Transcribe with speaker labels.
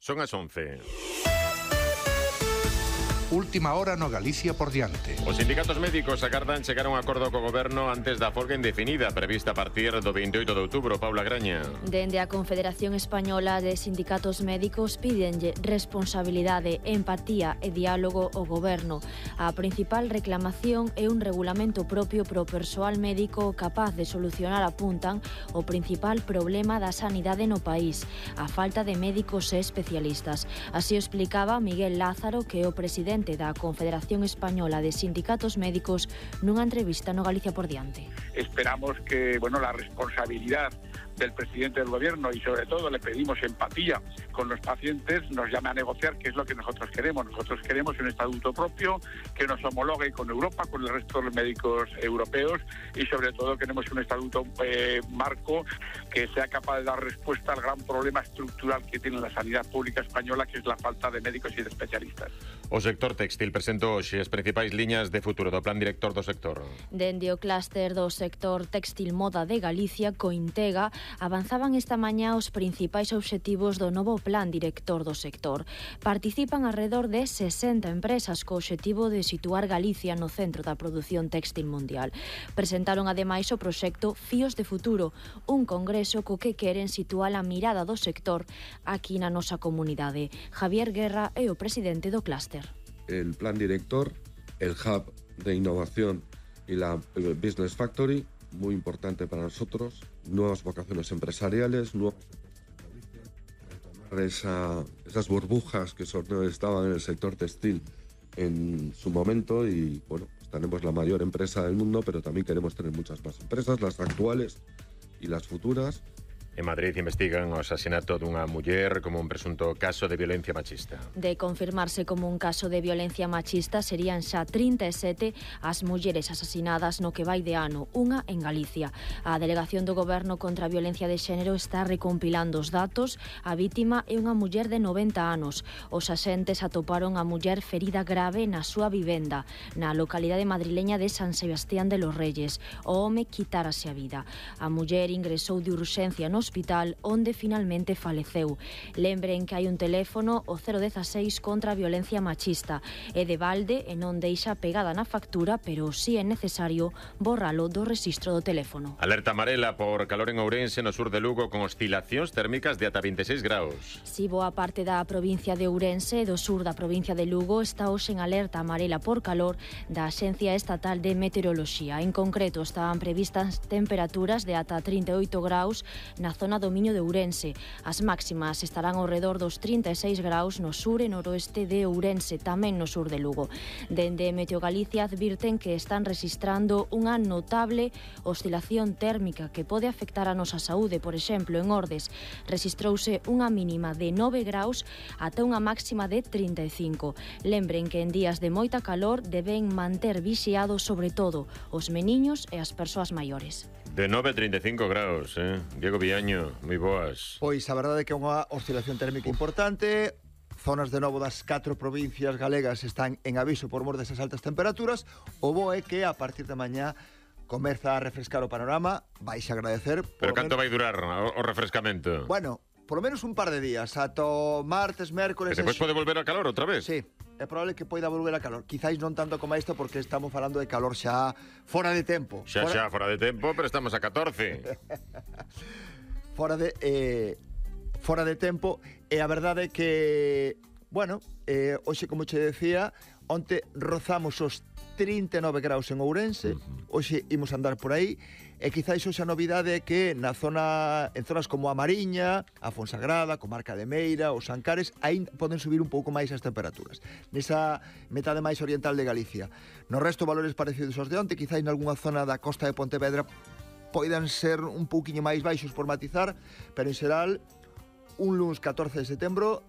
Speaker 1: Son as 11.
Speaker 2: Última hora no Galicia por diante.
Speaker 1: Os sindicatos médicos agardan chegar a un acordo co goberno antes da folga indefinida prevista a partir do 28 de outubro. Paula Graña.
Speaker 3: Dende a Confederación Española de Sindicatos Médicos pídenlle responsabilidade, empatía e diálogo ao goberno. A principal reclamación é un regulamento propio pro persoal médico capaz de solucionar, apuntan, o principal problema da sanidade no país, a falta de médicos e especialistas. Así o explicaba Miguel Lázaro, que é o presidente da Confederación Española de Sindicatos Médicos nunha entrevista no Galicia por diante.
Speaker 4: Esperamos que, la responsabilidad del presidente del gobierno y sobre todo le pedimos empatía con los pacientes, nos llame a negociar, que es lo que nosotros queremos. Nosotros queremos un estatuto propio que nos homologue con Europa, con el resto de los médicos europeos, y sobre todo queremos un estatuto marco que sea capaz de dar respuesta al gran problema estructural que tiene la sanidad pública española, que es la falta de médicos y de especialistas.
Speaker 1: O sector textil presentou hoxe as principais liñas de futuro do plan director do sector.
Speaker 3: Dende o clúster do sector textil moda de Galicia, Cointega, avanzaban esta mañá os principais obxectivos do novo plan director do sector. Participan alrededor de 60 empresas co obxectivo de situar Galicia no centro da produción textil mundial. Presentaron ademais o proxecto Fíos de Futuro, un congreso co que queren situar a mirada do sector aquí na nosa comunidade. Javier Guerra é o presidente do clúster.
Speaker 5: El plan director, el hub de innovación y la Business Factory, muy importante para nosotros, nuevas vocaciones empresariales, esas burbujas que estaban en el sector textil en su momento y estaremos la mayor empresa del mundo, pero también queremos tener muchas más empresas, las actuales y las futuras.
Speaker 1: En Madrid investigan o asasinato dunha muller como un presunto caso de violencia machista.
Speaker 3: De confirmarse como un caso de violencia machista, serían xa 37 as mulleres asasinadas no que vai de ano, unha en Galicia. A Delegación do Goberno contra a Violencia de Xénero está recompilando os datos. A vítima é unha muller de 90 anos. Os axentes atoparon a muller ferida grave na súa vivenda, na localidade madrileña de San Sebastián de los Reyes. O home quitárase a vida. A muller ingresou de urxencia no hospital, onde finalmente faleceu. Lembren que hai un teléfono, o 016, contra a violencia machista. É de balde e non deixa pegada na factura, pero si é necesario borralo do rexistro do teléfono.
Speaker 1: Alerta amarela por calor en Ourense, no sur de Lugo, con oscilacións térmicas de ata 26 graus.
Speaker 3: Si boa parte da provincia de Ourense e do sur da provincia de Lugo está hoxe en alerta amarela por calor da Axencia Estatal de Meteoroloxía. En concreto, estaban previstas temperaturas de ata 38 graus na zona do Miño de Ourense. As máximas estarán ao redor dos 36 graus no sur e noroeste de Ourense, tamén no sur de Lugo. Dende Meteo Galicia advirten que están rexistrando unha notable oscilación térmica que pode afectar a nosa saúde. Por exemplo, en Ordes rexistrouse unha mínima de 9 graus ata unha máxima de 35. Lembren que en días de moita calor deben manter vixiados sobre todo os meniños e as persoas maiores.
Speaker 1: De 9 a 35 graus, Diego Viaño, moi boas.
Speaker 6: Pois a verdade é que é unha oscilación térmica importante. Zonas de novo das 4 provincias galegas están en aviso por mor desas altas temperaturas. O bo é que a partir de mañá comeza a refrescar o panorama. Vais a agradecer.
Speaker 1: Pero canto vai durar o refrescamento?
Speaker 6: Bueno, por lo menos un par de días, ata martes, mércores.
Speaker 1: E depois pode volver a calor outra vez?
Speaker 6: Sí, é probable que poida volver a calor. Quizáis non tanto como isto, porque estamos falando de calor xa fora de tempo.
Speaker 1: Xa fora de tempo, pero estamos a 14.
Speaker 6: Fora de tempo. E a verdade é que, hoxe, como che decía, onte rozamos os 39 graus en Ourense. Hoxe imos andar por aí. E quizáis hoxe a novidade é que en zonas como a Mariña, a Fonsagrada, Comarca de Meira, os Ancares, aí poden subir un pouco máis as temperaturas. Nesa metade máis oriental de Galicia. No resto, valores parecidos aos de onte, quizáis nalgúna zona da costa de Pontevedra poidan ser un pouquiño máis baixos por matizar, pero en xeral, un luns 14 de setembro